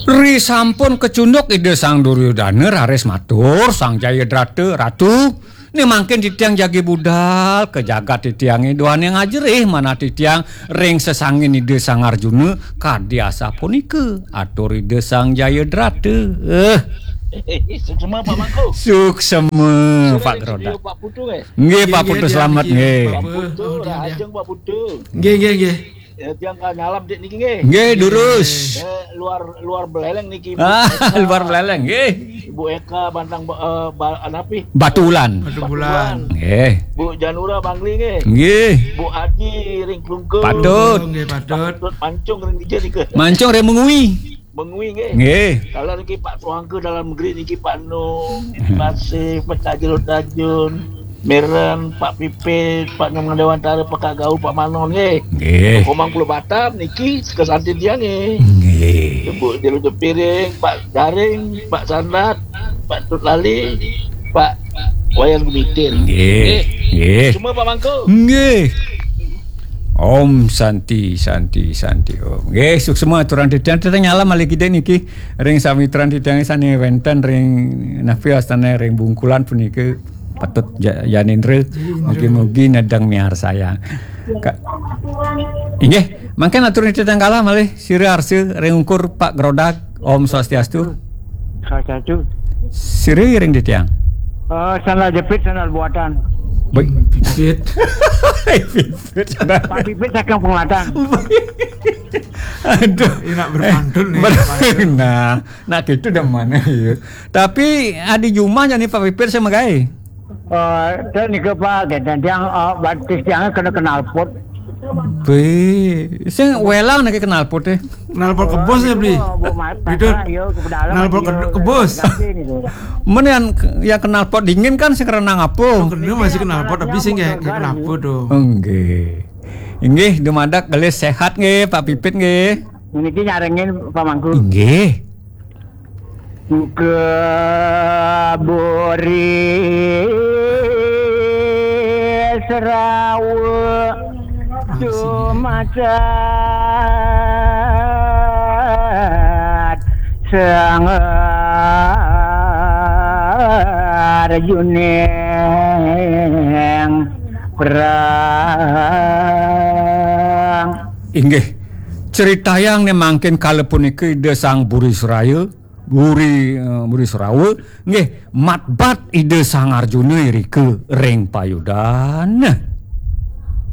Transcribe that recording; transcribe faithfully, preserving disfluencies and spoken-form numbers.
Risampun kacunduk Ida Sang Duryodana raris matur, "Sang Jayadrata, Ratu, né mangkin titiang jagi budal ka jagat titiangé, duaning ajerih manah titiang ring sesangin Ida Sang Arjuna kadi asapunika." Atur Ida Sang Jayadrata. Eh. Suksma, Pak Mangku. Suksma, Pak Grodak. Pak Putu, eh? Nggih, Pak Putu, selamat, nggih. Pak Putu, Pak Putu. Nggih, nggih, nggih. Ya, tiang ka nyalam dik niki nggih. Nggih, durus. Eh, luar, luar Beleleng niki, Bu Eka. Luar Beleleng, nggih. Bu Eka Bantang, eh, ba-, anapi? Batu Ulan. Batu Ulan. Nggih. Bu Janura Bangli nggih. Nggih. Bu Adi ring Klungkung. Patut. Nggih, patut. Patut Mancung ring dija nika. Mancung ring Mengwi. Mengwi nggih. Nggih. Kalau niki Pak Tuangka dalam negeri niki Pak Nu, Pak Sif, Pak Tajul Tajun, Meren, Pak Pipit, Pak Nyoman Dewantara, Pak Kagau, Pak Manon nggih. Nggih. Komang Pulau Batam niki sekesantin dia nggih. Nggih. Ibu Jelu Jepiring, Pak Jaring, Pak Sandat, Pak Tut Lali, Pak Wayan Gumitir. Nggih. Nggih. Semua Pak Mangku. Nggih. Om Santi, Santi, Santi Om. Nggih, suksma aturan titiang, titiang nyalam malih kidik niki ring samitran titiang sané wénten ring napi wastané ring Bungkulan punika patut ja-, Janindra. Mugi-mugi nedeng miarsayang. Ka-, inggih, mangkin atur titiang kalah malih sira arsa ring ungkur Pak Grodak. Om Swastiastu. Swastiastu. Sira ring titiang. Eh, sandal jepit, sandal buatan. Baik. Pipit. Pipit. Pak Pipit saking Penglatan. Aduh. Enak berpantun nih. Ber-, nah, nah gitu dah mana ya. Tapi adi jumah jani Pak Pipit sama gai. Eh, dan nika Pak, dan yang, eh, batis yang kena knalpot. Be, sing welang niki knalpot e. Knalpot kebos ya, Bli? Itu knalpot ke-, kebos. Men yang, yang knalpot dingin kan sing renang apa? Oh, kena masih knalpot, tapi sing kayak knalpot tuh. Nggih. Inggih, dumadak gelis sehat nggih, Pak Pipit nggih. Niki nyarengin Pak Mangku. Nggih. Ke Buri Serawa tumacat Sang Arjuning perang. Inggih. Critayang né mangkin kala punika Ida Sang Buri Suraya, Buri, eh, Buri Surawa, nggih, matbat Ida Sang Arjuna irika ring payudan.